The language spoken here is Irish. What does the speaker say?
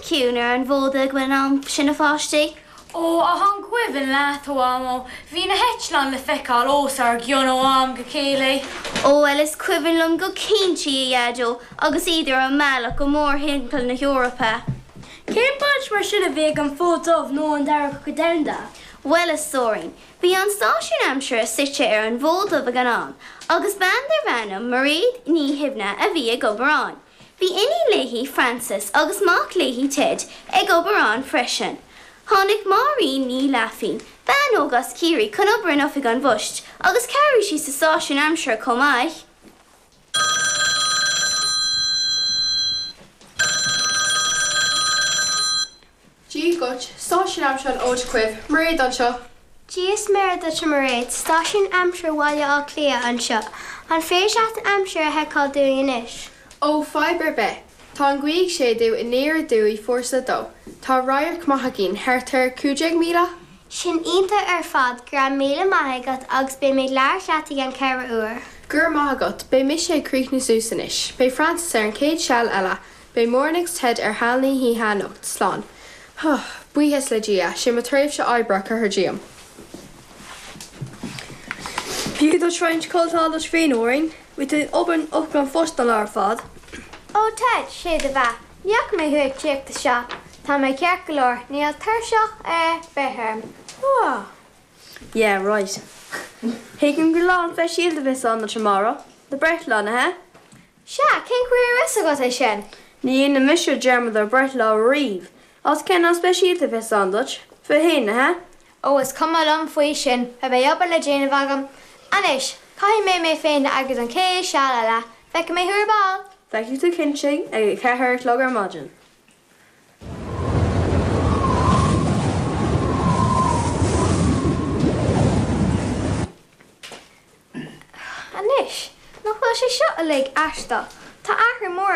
ciúin ar an bhFód ag an am sin, a pháistí? Ó, ach an gcuimhin leat, a Mhamó, bhí na heitleáin le feiceáil os ár gcionn ó am go chéile. Ó, bhuel, is cuimhin liom go cinnte, a Dhaideo, agus iad ar a mbealach go mórthimpeall na hEorpa. Cén baint mar sin a bhí ag an Fód Dubh nó an Dara Cogadh Domhanda? Bhuel, a stóirín, bhí an stáisiún aimsire suite ar an bhFód Dubh ag an am, agus bean darbh ainm Mairéad Ní Shuibhne a bhí ag obair ann. Bhí iníon léi, Frances, agus mac léi, Ted, ag obair ann freisin. Tháinig Máirín Ní Laifín, bean óg as Ciarraí, chun obair in oifig an phoist agus chabhraigh sí sa stáisiún aimsire chomh maith. Dia dhuit, Stáisiún Aimsire an Fhóid Dhuibh, Mairéad anseo. Dia is Muire duit a Mhairéad, Stáisiún Aimsire Bhaile Átha Cliath anseo. An féidir leat an aimsir a sheiceáil dúinn anois? Ó, fadhb ar bith. Tá an ghaoth ag séideadh aniar aduaidh fórsa 2. Tá radharc maith againn, thart ar 15,000? Sin iontach ar fad, go raibh míle maith agat agus beidh mé ag labhairt leat i gceann ceithre uair. Go raibh maith agat, beidh mise ag críochnú suas anois. Beidh Frances ar an chéad seal eile. Beidh Máirín agus Ted ar sheal na hoíche anocht. Slán. Huh. Buíochas le Dia, sé mo thréimhse oibre curtha díom. Thiocfadh duit roinnt codlata a fháil duit féin, a Mháirín. Bhí tú ag obair in oifig an phoist an lá ar fad. Ó Ted, sé do bheatha, ní fhaca mé thú ag tíocht isteach. Tá mé ceart go leor, níl tuirseach ar bith orm. Huh. Yeah, right. Tuigim gur lá an-speisialta a bheas ann duit amárach. Do breithlá, nach ea? Sea, cén chaoi a raibh fhios agat é sin? Ní dhéanann mise dearmad ar breithlá riamh. Agus cén lá speisialta a bheas ann duit? 21, nach ea? Ó, is cuma liom faoi sin, beidh obair le déanamh agam. Anois, caithfidh mé mé féin a eagrú don chéad seal eile. Feicfidh mé thú ar ball! Feicfidh tú cinnte ag a ceathair a chlog ar maidin. Anois, nach bhfuil sé seo uilig aisteach? Tá athrú mór.